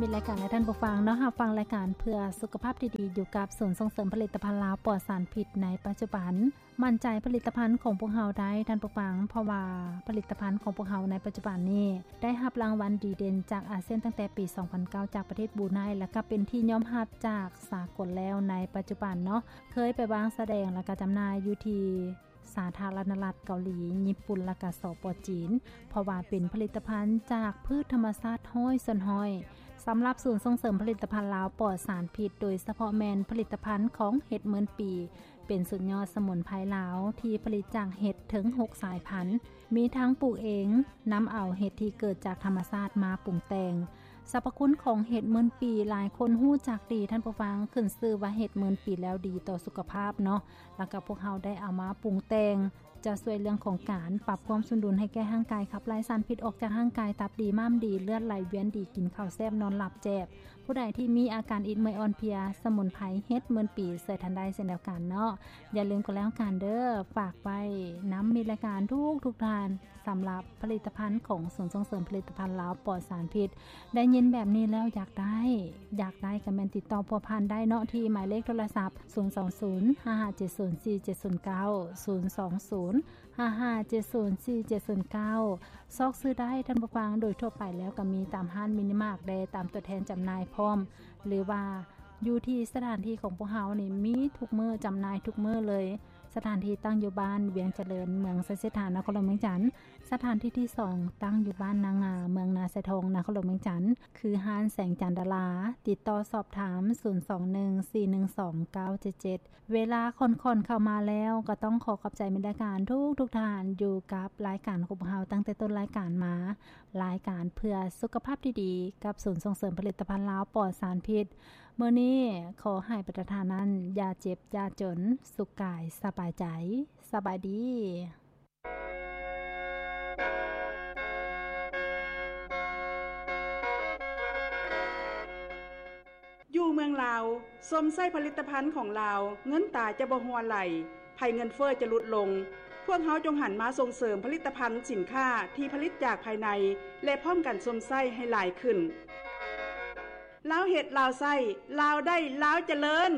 ມິດລາຍການ ແລະ ທ່ານຜູ້ຟັງເນາະ, ຮັບຟັງລາຍການເພື່ອສຸຂະພາບທີ່ດີ ຢູ່ກັບສູນສົ່ງເສີມຜະລິດຕະພັນລາວປອດສານພິດໃນປັດຈຸບັນ. ໝັ້ນໃຈຜະລິດຕະພັນຂອງພວກເຮົາໄດ້ ທ່ານຜູ້ຟັງ, ເພາະວ່າຜະລິດຕະພັນຂອງພວກເຮົາໃນປັດຈຸບັນນີ້ ໄດ້ຮັບລາງວັນດີເດັ່ນຈາກອາຊຽນຕັ້ງແຕ່ປີສອງພັນເກົ້າ ຈາກປະເທດບຣູໄນ ແລະ ກໍເປັນທີ່ຍອມຮັບຈາກສາກົນແລ້ວໃນປັດຈຸບັນເນາະ. ເຄີຍໄປວາງສະແດງ ແລະ ກໍຈຳໜ່າຍຢູ່ທີ່ ສາທາລະນະລັດເກົາຫຼີ, ຍີ່ປຸ່ນ ແລະ ກະ ສປ ຈີນ, ເພາະວ່າເປັນຜະລິດຕະພັນຈາກພືດທຳມະຊາດຮ້ອຍສ່ວນຮ້ອຍ. ສຳລັບສູນສົ່ງເສີມຜະລິດຕະພັນລາວປອດສານພິດ, ໂດຍສະເພາະແມ່ນຜະລິດຕະພັນຂອງເຫັດໝື່ນປີ, ເປັນສຸດຍອດສະໝຸນໄພລາວທີ່ຜະລິດຈາກເຫັດເຖິງຫົກສາຍພັນ, ມີທັງປູກເອງ, ນຳເອົາເຫັດທີ່ເກີດຈາກທຳມະຊາດມາປຸງແຕ່ງ. ສັບພະຄຸນຂອງເຫັດໝື່ນປີ ຫຼາຍຄົນຮູ້ຈັກດີ, ທ່ານຜູ້ຟັງ, ຂຶ້ນຊື່ວ່າເຫັດໝື່ນປີແລ້ວດີຕໍ່ສຸຂະພາບເນາະ. ແລ້ວກໍພວກເຮົາໄດ້ເອົາມາປຸງແຕ່ງ ຈະຊ່ວຍເລື່ອງຂອງການປັບຄວາມສົມດຸນໃຫ້ແກ່ຮ່າງກາຍ, ຂັບໄລ່ສານພິດອອກຈາກຮ່າງກາຍ, ຕັບດີ, ມ້າມດີ, ເລືອດໄຫຼວຽນດີ, ກິນເຂົ້າແຊບ, ນອນຫຼັບແຈບ. ຜູ້ໃດທີ່ມີອາການອິດເມື່ອຍອ່ອນເພຍ, ສະໝຸນໄພເຫັດໝື່ນປີຊ່ວຍທ່ານໄດ້ເຊັ່ນດຽວກັນເນາະ. ຢ່າລືມກໍແລ້ວກັນເດີ້, ຝາກໄວ້ນຳມິດລາຍການທຸກໆທ່ານ ສຳລັບຜະລິດຕະພັນຂອງສູນສົ່ງເສີມຜະລິດຕະພັນລາວປອດສານພິດ. ໄດ້ຍິນແບບນີ້ແລ້ວຢາກໄດ້, ຢາກໄດ້ກໍແມ່ນຕິດຕໍ່ພົວພັນໄດ້ເນາະ ທີ່ໝາຍເລກໂທລະສັບ ສູນສອງສູນ ຫ້າຫ້າເຈັດສູນ ສີ່ເຈັດສູນເກົ້າ, ສູນສອງສູນ ຫ້າຫ້າເຈັດສູນ ສີ່ເຈັດສູນເກົ້າ. ຊອກຊື້ໄດ້, ທ່ານຜູ້ຟັງ, ໂດຍທົ່ວໄປແລ້ວກໍມີຕາມຮ້ານມິນິມາກແດ່, ຕາມຕົວແທນຈຳໜ່າຍພ້ອມ, ຫຼືວ່າຢູ່ທີ່ສະຖານທີ່ຂອງພວກເຮົານີ້ມີທຸກມື້, ຈຳໜ່າຍທຸກມື້ເລີຍ. ສະຖານທີ່ຕັ້ງຢູ່ບ້ານວຽງຈະເລີນ, ເມືອງໄຊເສດຖາ, ນະຄອນຫຼວງວຽງຈັນ. ສະຖານທີ່ທີສອງ ຕັ້ງຢູ່ບ້ານນາງາ, ເມືອງນາຊາຍທອງ, ນະຄອນຫຼວງວຽງຈັນ, ຄືຮ້ານແສງຈັນດາລາ. ຕິດຕໍ່ສອບຖາມ ສູນສອງໜຶ່ງ ສີ່ໜຶ່ງສອງ ເກົ້າເຈັດເຈັດ. ເວລາຄ່ອນໆເຂົ້າມາແລ້ວ, ກໍຕ້ອງຂໍຂອບໃຈມິດລາຍການທຸກໆທ່ານ ຢູ່ກັບລາຍການຂອງພວກເຮົາຕັ້ງແຕ່ຕົ້ນລາຍການມາ. ລາຍການເພື່ອສຸຂະພາບທີ່ດີ ກັບສູນສົ່ງເສີມຜະລິດຕະພັນລາວປອດສານພິດ. ມື້ນີ້ຂໍໃຫ້ບັນດາທ່ານນັ້ນ ຢ່າເຈັບຢ່າຈົນ, ສຸກກາຍສະບາຍໃຈ. ສະບາຍດີ. ຢູ່ເມືອງລາວ, ຊົມໃຊ້ຜະລິດຕະພັນຂອງລາວ, ເງິນຕາຈະບໍ່ຮົ່ວໄຫຼ, ໄພເງິນເຟີ້ຈະຫຼຸດລົງ. ພວກເຮົາຈົ່ງຫັນມາສົ່ງເສີມຜະລິດຕະພັນສິນຄ້າທີ່ຜະລິດຈາກພາຍໃນ ແລະ ພ້ອມກັນຊົມໃຊ້ໃຫ້ຫຼາຍຂຶ້ນ. ລາວເຮັດ, ລາວໃຊ້, ລາວໄດ້, ລາວຈະເລີນ.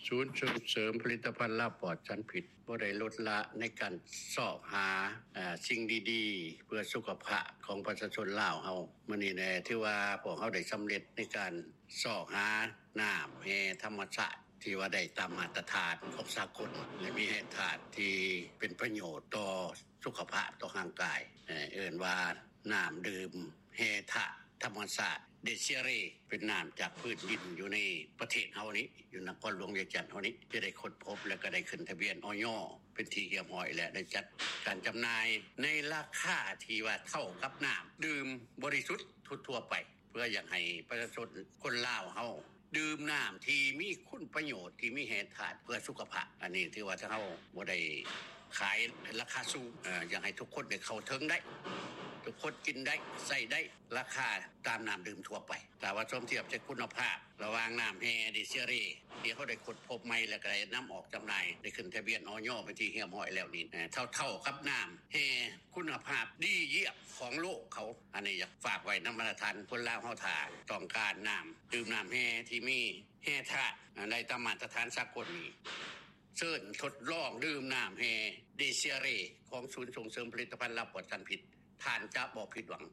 ສູນສົ່ງເສີມຜະລິດຕະພັນລາວປອດສານພິດ ບໍ່ໄດ້ລົດລະໃນການຊອກຫາ ເອີ ສິ່ງດີໆ ເພື່ອສຸຂະພາບຂອງປະຊາຊົນລາວເຮົາ. ມື້ນີ້ແຫຼະ ຖືວ່າພວກເຮົາໄດ້ສຳເລັດໃນການຊອກຫານ້ຳແຮ່ທຳມະຊາດ ທີ່ວ່າໄດ້ຕາມມາດຕະຖານຂອງສາກົນ ແລະ ມີແຮ່ທາດທີ່ເປັນປະໂຫຍດຕໍ່ສຸຂະພາບ, ຕໍ່ຮ່າງກາຍ. ເອີ້ນວ່ານ້ຳດື່ມແຮ່ທາດທຳມະຊາດ ເດເຊຍເຣ ເປັນນ້ຳຈາກພື້ນດິນຢູ່ໃນປະເທດເຮົານີ້, ຢູ່ນະຄອນຫຼວງວຽງຈັນເຮົານີ້ ຈະໄດ້ຄົ້ນພົບ ແລະ ກໍໄດ້ຂຶ້ນທະບຽນ ອຢ ເປັນທີ່ຮຽບຮ້ອຍ ແລະ ໄດ້ຈັດການຈຳໜ່າຍໃນລາຄາທີ່ວ່າເທົ່າກັບນ້ຳດື່ມບໍລິສຸດທົ່ວໆໄປ. ເພື່ອຢາກໃຫ້ປະຊາຊົນຄົນລາວເຮົາດື່ມນ້ຳທີ່ມີຄຸນປະໂຫຍດ ທີ່ມີແຮ່ທາດເພື່ອສຸຂະພາບ. ອັນນີ້ຖືວ່າທາງເຮົາບໍ່ໄດ້ຂາຍລາຄາສູງ, ເອີ ຢາກໃຫ້ທຸກຄົນໄດ້ເຂົ້າເຖິງໄດ້, ທຸກຄົນກິນໄດ້, ໃຊ້ໄດ້, ລາຄາຕາມນ້ຳດື່ມທົ່ວໄປ. ຖ້າວ່າສົມທຽບໃສ່ຄຸນນະພາບລະຫວ່າງນ້ຳແຮ່ເດເຊຍເຣ ທີ່ເຮົາໄດ້ຄົ້ນພົບໃໝ່ ແລ້ວກໍໄດ້ນຳອອກຈຳໜ່າຍ, ໄດ້ຂຶ້ນທະບຽນ ອຢ ເປັນທີ່ຮຽບຮ້ອຍແລ້ວນີ້, ເທົ່າໆກັບນ້ຳແຮ່ຄຸນນະພາບດີຢ້ຽມຂອງໂລກເຂົາ. ອັນນີ້ຢາກຝາກໄວ້ນຳບັນດາທ່ານຄົນລາວເຮົາ ຖ້າຕ້ອງການນ້ຳດື່ມ, ນ້ຳແຮ່ທີ່ມີແຮ່ທາດໄດ້ຕາມມາດຕະຖານສາກົນນີ້, ເຊີນທົດລອງດື່ມນ້ຳແຮ່ເດເຊຍເຣ ຂອງສູນສົ່ງເສີມຜະລິດຕະພັນລາວປອດສານພິດ. ທ່ານຈະບໍ່ຜິດຫວັງ.